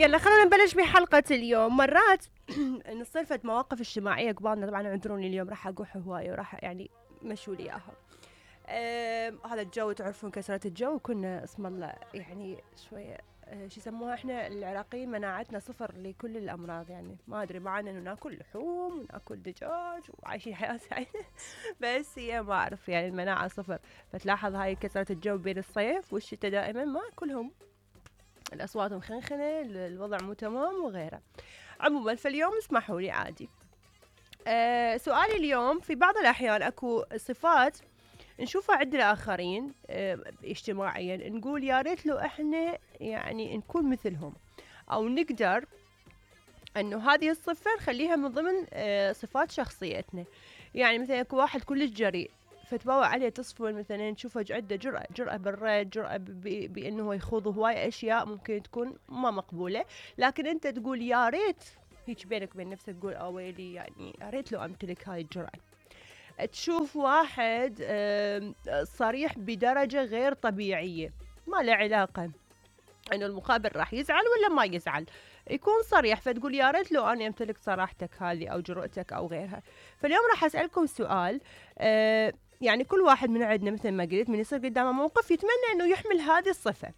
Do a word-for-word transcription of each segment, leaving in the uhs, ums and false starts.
يلا خلونا نبلش بحلقة اليوم. مرات نصير فد مواقف اجتماعية قبالنا، طبعا اعذروني اليوم راح اقوح هواية وراح يعني مشوا لي اياها. هذا الجو تعرفون كسرة الجو، كنا اسم الله يعني شوية أه شو يسموها احنا العراقيين مناعتنا صفر لكل الامراض، يعني ما ادري معنا انه ناكل لحوم وناكل دجاج وعايشين حياة سعيدة بس هي ما اعرف يعني المناعة صفر. فتلاحظ هاي كسرة الجو بين الصيف والشتاء دائما ما كلهم الأصوات مخنخنة، الوضع مو تمام وغيره. عموما فاليوم اسمحوا لي عادي. أه سؤالي اليوم، في بعض الأحيان أكو صفات نشوفها عند الآخرين أه اجتماعيا نقول يا ريت لو إحنا يعني نكون مثلهم، أو نقدر أنه هذه الصفة نخليها من ضمن أه صفات شخصيتنا. يعني مثلا أكو واحد كلش جريء فتباوع عليه تصفون مثلا تشوفه عنده جرأة جرأة بالرد، جرأة بأنه هو يخوض هواي أشياء ممكن تكون ما مقبولة، لكن أنت تقول يا ريت هيك بينك وبين نفسك تقول أويلي يعني يا ريت لو أمتلك هاي الجرأة. تشوف واحد صريح بدرجة غير طبيعية، ما له علاقة انه المقابل راح يزعل ولا ما يزعل، يكون صريح فتقول يا ريت لو انا امتلك صراحتك هذه او جرأتك او غيرها. فاليوم راح اسالكم سؤال، آه يعني كل واحد من عندنا مثل ما قلت من يصير قدامه موقف يتمنى انه يحمل هذه الصفة.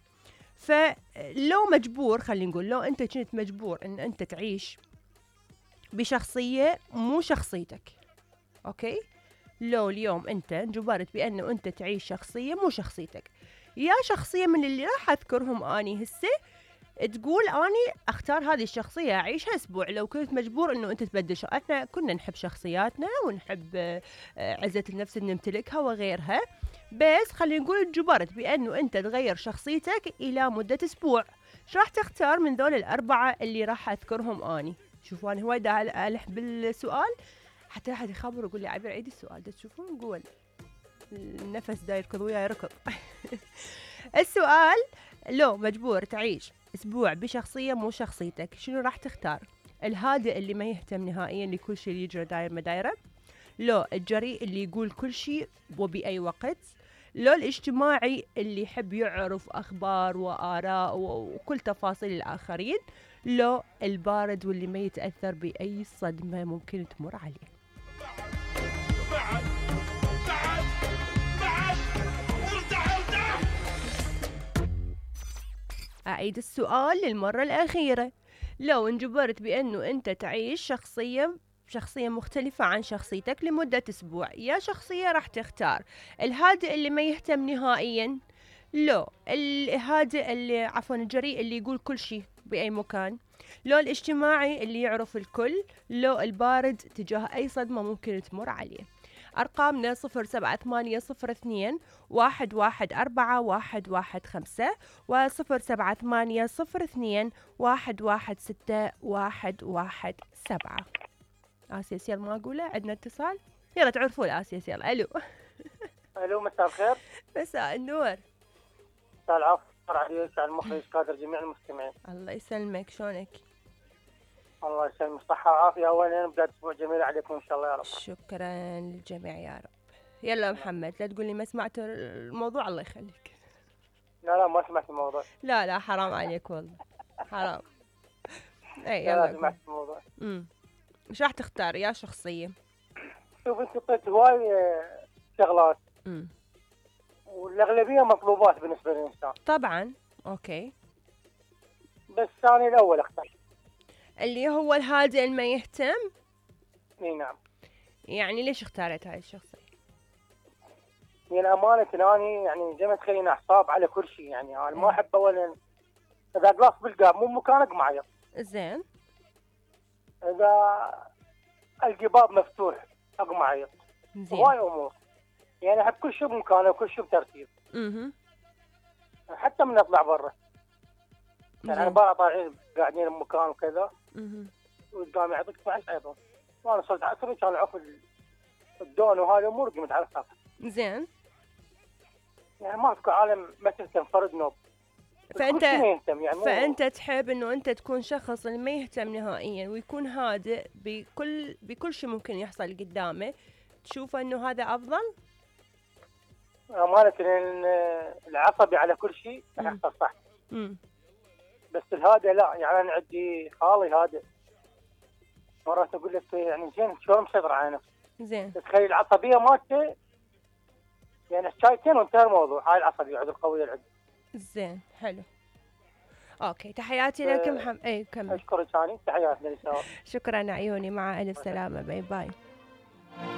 فلو مجبور، خلينا نقول لو انت كنت مجبور ان انت تعيش بشخصية مو شخصيتك، اوكي، لو اليوم انت انجبرت بانه انت تعيش شخصية مو شخصيتك، يا شخصية من اللي راح اذكرهم اني هسه تقول اني اختار هذه الشخصية اعيشها اسبوع. لو كنت مجبور انه انت تبدل شخ... احنا كنا نحب شخصياتنا ونحب عزة النفس ان نمتلكها وغيرها، بس خلينا نقول انجبرت بانه انت تغير شخصيتك الى مدة اسبوع، شو راح تختار من ذول الاربعة اللي راح اذكرهم اني؟ شوفوا انا هواي دا الح بالسؤال حتى احد يخبر ويقول لي عبير عيد السؤال ده، تشوفون قول النفس دا يركض ويا يركض. السؤال، لو مجبور تعيش اسبوع بشخصية مو شخصيتك شنو راح تختار؟ الهادئ اللي ما يهتم نهائيا لكل شيء يجري داير ما دايره، لو الجريء اللي يقول كل شيء وبأي وقت، لو الاجتماعي اللي يحب يعرف اخبار واراء وكل تفاصيل الاخرين، لو البارد واللي ما يتأثر بأي صدمة ممكن تمر عليه. بعد بعد بعد ارجع ارجع. أعيد السؤال للمرة الأخيرة، لو انجبرت بأنه أنت تعيش شخصية شخصية مختلفة عن شخصيتك لمدة أسبوع، يا شخصية راح تختار الهادئ اللي ما يهتم نهائيا، لو الهادئ اللي عفوا الجريء اللي يقول كل شيء بأي مكان، لو الاجتماعي اللي يعرف الكل، لو البارد تجاه أي صدمة ممكن تمر عليه. أرقامنا صفر سبعة ثمانية صفر اثنين واحد واحد أربعة واحد واحد خمسة وصفر سبعة ثمانية صفر اثنين واحد واحد ستة واحد واحد سبعة. آسيس يلا ما أقوله، عندنا اتصال، يلا تعرفوا الآسيس. يلا ألو. ألو مساء الخير. مساء النور. مساء العافية عليك على المخرج كادر جميع المستمعين. الله يسلمك، شلونك؟ الله يسلمك، صحة وعافية. أولا بداية أسبوع جميل عليكم إن شاء الله يا رب. شكرا للجميع يا رب. يلا محمد لا تقول لي ما سمعت الموضوع، الله يخليك. لا لا ما سمعت الموضوع. لا لا حرام عليك والله حرام. اي يلا. لا سمعت الموضوع. امم ايش راح تختار يا شخصية؟ شوف انت قلت هواي شغلات امم والاغلبية مطلوبات بالنسبة للإنسان. طبعا اوكي، بس ثاني الأول اختار اللي هو الهادئ اللي ما يهتم. اي نعم. يعني ليش اختارت هاي الشخصية؟ يعني أمانة أني يعني زي ما تخليني أحساب على كل شيء، يعني أنا ما أحب أولا إذا جلاس بالقاب مو مكانك معي. زين. إذا الجباب مفتوح أقمع عيط. هواي أمور يعني أحب كل شيء بمكانه وكل شيء بترتيب. اها. حتى من أطلع برا يعني أنا بقى طالعين قاعدين بمكان وكذا. اها. وقدامي عطيك معش أيضا وأنا صرت عصري كان عقب الدون وهذه أمور قمت على الساحة. زين. يعني ما في عالم ما تهتم فرد نوب. فأنت يعني فأنت تحب إنه أنت تكون شخص اللي ما يهتم نهائيا ويكون هادئ بكل بكل شيء ممكن يحصل قدامه، تشوف إنه هذا أفضل؟ أمانة العصبي على كل شيء راح يحصل صح. امم بس الهادئ لا، يعني انا عندي خالي هادئ مرات اقول لك يعني زين شلون مسيطر على نفسه. زين. تخيل العصبيه مالته يعني شايتين وانتهى الموضوع. هاي العصبيه عند القويه اللي عندي. زين حلو. اوكي تحياتي لك محمد. اي كمل. اشكرك ثاني، تحياتي للسلام. شكرا عيوني، مع الف سلامه، باي باي.